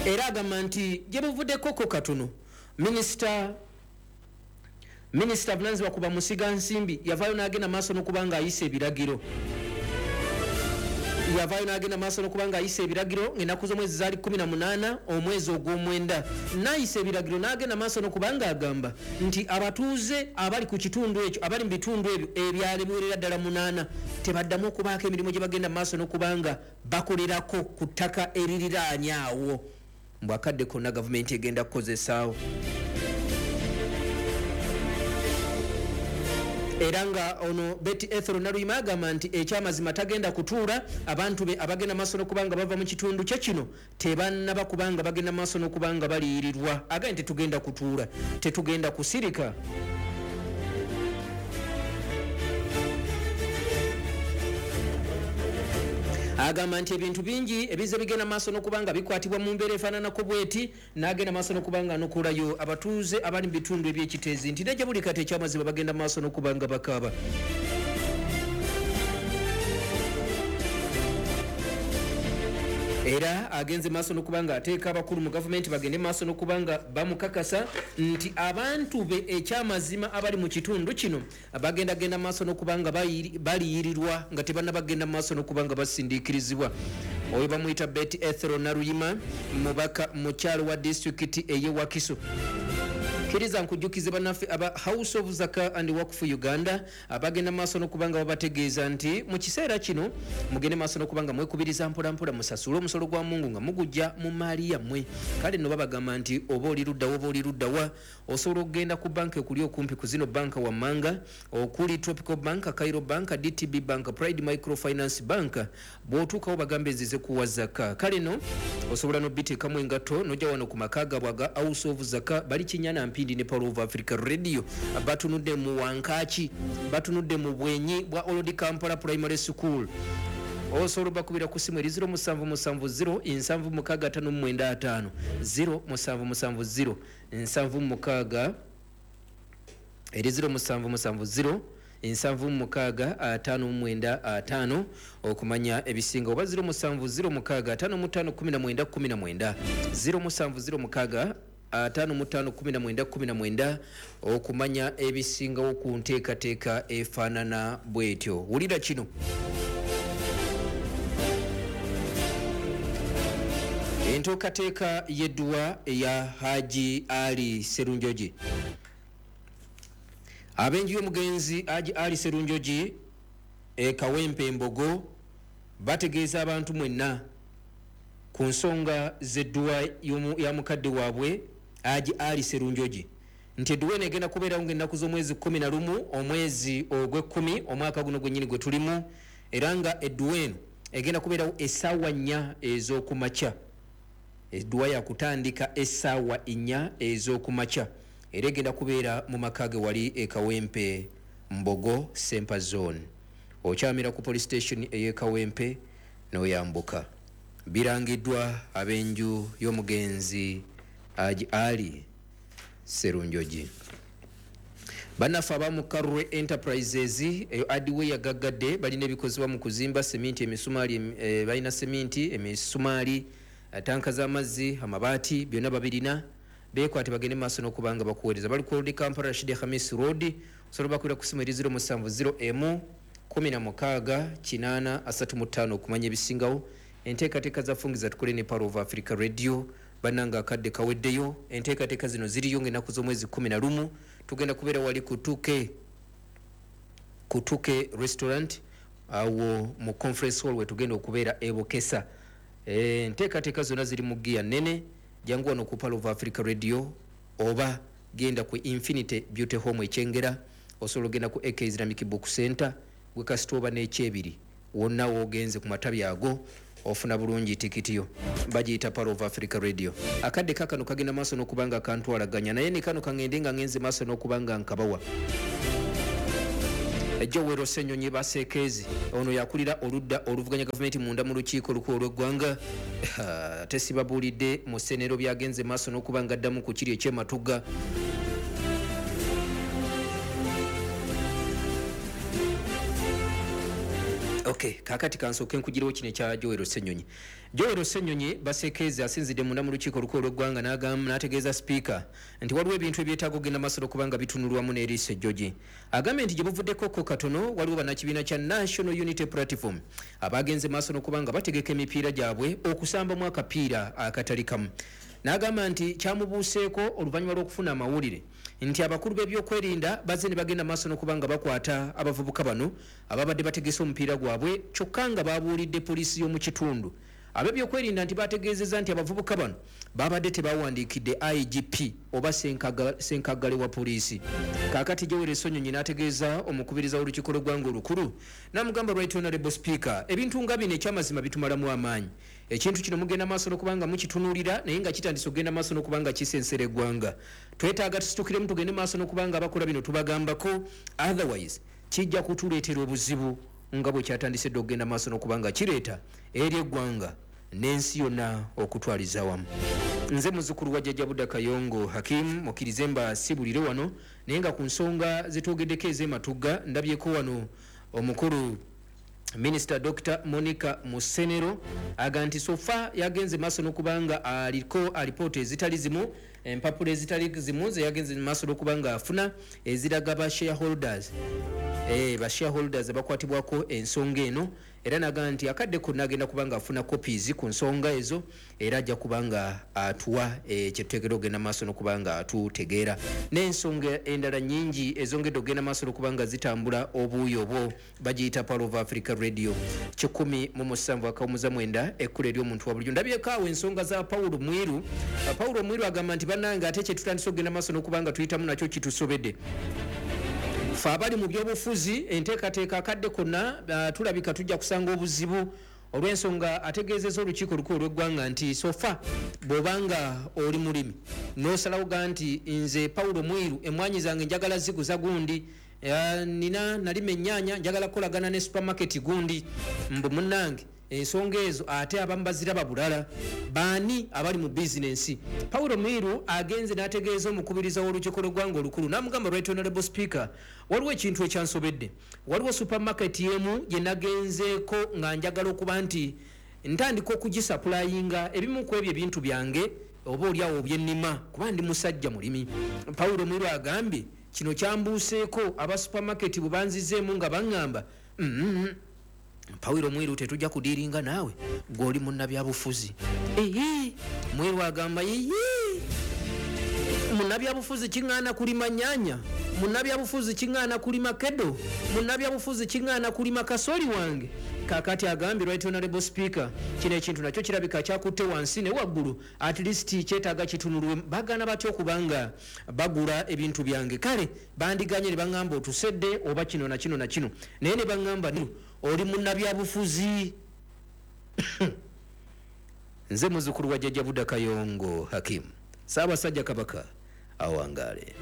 Era agamba nti gye buvuddekoko katono minisita avunanyizibwa ku bamusiga nsimbi yavaayo n'agenda maaso n'okuba nga ayisa ebiragiro. Yavaayo n'agenda maaso n'okuba nga ayisa ebiragiro ng'ennaku z'omwezi zaali 18 omwezi ogw'omwenda, n'ayisa ebiragiro n'agenda maaso n'okuba nga agamba nti abatuuze abali ku kitundu ekyo, abali mu bitundu ebyo ebyalo ebiwerera ddala 8, tebaddamu okubaako emirimu gye bagenda maaso n'okuba nga bakolerako ku ttaka eririraanye awo. Mbw akadde konna gavumenti egenda kukozesaawo. Era nga ono Betty Ethel Naluyima agamba nti ekyamazima tagenda kutuula, abantu be abagenda maaso n'okuba nga bava mu kitundu kye kino tebannaba kubanga bagenda maaso n'okuba nga baliyirirwa. Agambye nti tetugenda kutuula, tetugenda kusirika. Agamba nti ebintu bingi ebizze bigenda maaso n'okuba nga bikwatibwa mu mbeera efaananako bweti, n'agenda maaso n'okuba nga anokolayo abatuuze abali mu bitundu eby'Ekiteezi nti ne gye buli kati ekyamazima bagenda maaso n'okuba nga bakaaba. Era agenze maaso n'okuba nga ateeka abakulu mu gavumenti bagende maaso n'okuba nga bamukakasa nti abantu be ekyamazima abali mu kitundu kino bagenda genda maaso n'okuba nga baliyirirwa nga tebannabagenda maaso n'okuba nga basindiikirizibwa. Oyo bamuyita Betty Ethel Naluyima, mubaka mukyalo wa disitulikiti ey'e Wakiso. Kkiriza nkujjukize bannaffe aba House of Zaka and Waqf Uganda abagenda maaso n'okuba nga babategeeza nti mu kiseera kino mugende maaso n'okuba nga mwekubiriza mpolampola musasule omusolo gwa Mungu nga mugujja mu maali yammwe. Kale nno babagamba nti oba oli luddawa oba oli luddawa osobola okugenda ku banka ekuli okumpi ku zino banka wammanga okuli Tropical Bank, Cairo Bank, DTB Bank, Pride Microfinance Bank. Bw'otuukawo bagambe nzize kuwa zaka. Kale nno osobola n'obiteekamu engatto n'ojja wano ku maka gaabwe aga House of Zaka, bali Kinyana Mpindi ne Power of Africa Radio. Batunudde mu wankaaki, batunudde mu bwenyi bwa Old Kampala Primary School. Osobola obakubira ku simu eri 0770 7659 0770 76 eri 0770 7659 okumanya ebisinga, oba 0706 55 19 19 0706 55 19 19 okumanya ebisingawo ku nteekateeka efaanana bw'etyo. Wulira kino. Enteekateeka y'edduwa eya Haji Ali Serunjogi. Ab'enju y'omugenzi Haji Ali Serunjogi e Kawempe Mbogo bategeeza abantu mwenna ku nsonga z'edduwa ya mukadde waabwe Haji Ali Serunjogi nti edduwa eno egenda kubeerawo ng'ennaku z'omwezi 11 omwezi ogw'ekkumi omwaka guno gwennyini gwe tulimu, era nga edduwa eno egenda kubeerawo essaawa 4 ez'okumakya. Edduwa yakutandika essaawa 4 ez'okumakya era egenda kubeera mu maka ge wali e Kawempe Mbogo Sempa Zone. Okyamira ku police station ey'e Kawempe n'oyambuka. Birangiddwa ab'enju y'omugenzi Haji Ali Serunjogi. Bannaffe aba Mukarwe Enterprises eyo Adiwe yagaggadde, balina ebikozesebwa mu kuzimba seminti, emisumaali, balina seminti, emisumaali, tanka z'amazzi, amabaati, byonna babirina. Beekwate bagende maaso n'okuba nga bakuweereza. Bali ku Old Kampala Rashid Khamis Road. Osobola bakubira ku simu eri 0701 16 8 35 okumanya ebisingawo. Enteekateeka za Fungiza Tukole ne Power of Africa Radio. Bannange akadde kaweddeyo. Enteekateeka zino ziriyo ng'ennaku z'omwezi 11. Tugenda kubeera wali ku 2K Restaurant awo mu conference hall we tugenda okubeera e Bukesa. Enteekateeka zonna ziri mu ggiya nnene. Jangu wano ku Power of Africa Radio oba genda ku Infinity Beauty Home e Kyengera. Osobola ogenda ku AK Islamic Book Center gwe kasita oba n'ekyebiri wonna w'ogenze ku matabi ago ofuna bulungi tikiti yo. Bagiyita Power of Africa Radio. Akadde kakano kagenda maaso n'okuba nga kantwalaganya, naye ne kano kaŋŋende nga ŋŋenze maaso n'okuba nga nkabawa. Joel Ssenyonyi Basekeezi ono yakulira oludda oluvuganya gavumenti munda mu lukiiko olukulu olw'eggwanga. Ate sibabuulidde mu ssenero byagenze maaso n'okuba nga addamu ku kiri eky'Ematugga. Okay, kakati kansooke nkugirewo kino ekya Joel Ssenyonyi. Joel Ssenyonyi basekeezi asinzidde munda mu lukiiko olukulu olw'eggwanga n'agamba n'ategeeza sipiika nti waliwo ebintu ebyetaaga okugenda maaso n'okuba nga bitunulwamu n'eriiso ejjogi. Agambye nti gye buvuddeko ko katono waliwo bannakibiina kya National Unity Platform abagenze maaso n'okuba nga bategeka emipiira gyabwe okusambamu akapiira akatali kamu. N'agamba nti kyamubuuseeko oluvannyuma lw'okufuna amawulire nti abakulu b'ebyokwerinda bazze ne bagenda maaso n'okuba nga bakwata abavubuka bano ababadde bategese omupiira gwabwe, kyokka nga babuulidde poliisi y'omu kitundu. Ab'ebyokwerinda nti bategeezezza nti abavubuka bano babadde tebawandiikidde IGP oba ssenkaggale wa poliisi. Kaakati Joel Ssenyonyi n'ategeeza omukubiriza w'olukiiko lw'eggwanga olukulu n'amugamba, "Right Honorable Speaker, ebintu nga bino ekyamazima bitumalamu amaanyi. Ekintu kino mugenda maaso n'okuba nga mukitunuulira, naye nga kitandise okugenda maaso n'okuba nga kisensera eggwanga. Twetaaga tusitukiremu tugende maaso n'okuba nga abakola bino tubagambako, otherwise kijja kutuleetera obuzibu nga bwe kyatandise dde okugenda maaso n'okuba nga kireeta eri eggwanga n'ensi yonna okutwaliza awamu." Nze muzzukulu wa Jjajja Budda Kayongo Hakim, mukkirize mba sibulire wano, naye nga ku nsonga zetwogeddeko ez'ematugga ndabyeko wano omukulu Minisita Dr Monica Musenero aga nti so far yagenze maaso n'okuba nga aliko alipoota ezitali zimu, empapula ezitali zimu ze yagenze maaso n'okuba nga afuna eziraga ba shareholders, ba shareholders abakwatibwako ensonga eno, era naga nti akadde konna agenda kuba nga afuna copies ku nsonga ezo, era ajja kuba nga atuwa kyetutegeera okugenda maaso n'okuba nga atutegeera n'ensonga endala nyingi ezongedde okugenda maaso n'okuba nga zitambula. Obuuyi obwo bagiyita Pearl of Africa Radio 107.9, ekkula ery'omuntu wa bulijjo. Ndabyeko awo ensonga za Paulo Mwiru. Paulo Mwiru agamba nti bannange, ate kyetutandise okugenda maaso n'okuba nga tuyitamu nakyo kitusobedde fe abali mu byobufuzi. Enteekateeka akadde konna tulabika tujja kusanga obuzibu olw'ensonga ategeezezza olukiiko olukulu olw'eggwanga nti so far bw'obanga oli mulimi n'osalawo ga nti nze Paulo Mwiru emwanyi zange njagala ziguza gundi, nina nalima ennyaanya, njagala kukolagana ne supermarket gundi, mbu munnange ensonga ezo ate abamu baziraba bulala. Baani abali mu bizinensi? Paulo Mwiru agenze n'ategeeza omukubiriza w'olukiiko lw'eggwanga olukulu n'amugamba, "Right Honorable Speaker, waliwo ekintu ekyansobedde. Waliwo supermarket emu gye nagenzeeko nga njagala okuba nti ntandika okugisupplyinga ebimu ku ebyo ebintu byange oba oliawo byennima, kuba ndi musajja mulimi." Paulo Mwiru agambye kino kyambuuseeko, aba supermarket bwe banzizeemu nga baŋŋamba, Pawulo Mwiru tetujja kudealinga naawe, gw'oli munnabyabufuzi." Eyi, Mwiru agamba, "Yiyi, munnabyabufuzi kiŋŋaana kulima nnyanya? Munnabyabufuzi kiŋŋaana kulima kedo? Munnabyabufuzi kiŋŋaana kulima kasoli wange?" Kakati agambye, "Right Honorable Speaker, kino ekintu nakyo kirabika kyakutte wansi ne waggulu, at least kyetaaga kitunulwe. Bagaana batya okubanga bagula ebintu byange? Kale bandiganye ne baŋŋamba otusedde oba kino na kino na kino, naye ne baŋŋamba oli munnabyabufuzi." Nze muzzukulu wa Jjajja Budda Kayongo Hakimu. Ssaabasajja Kabaka awangaale.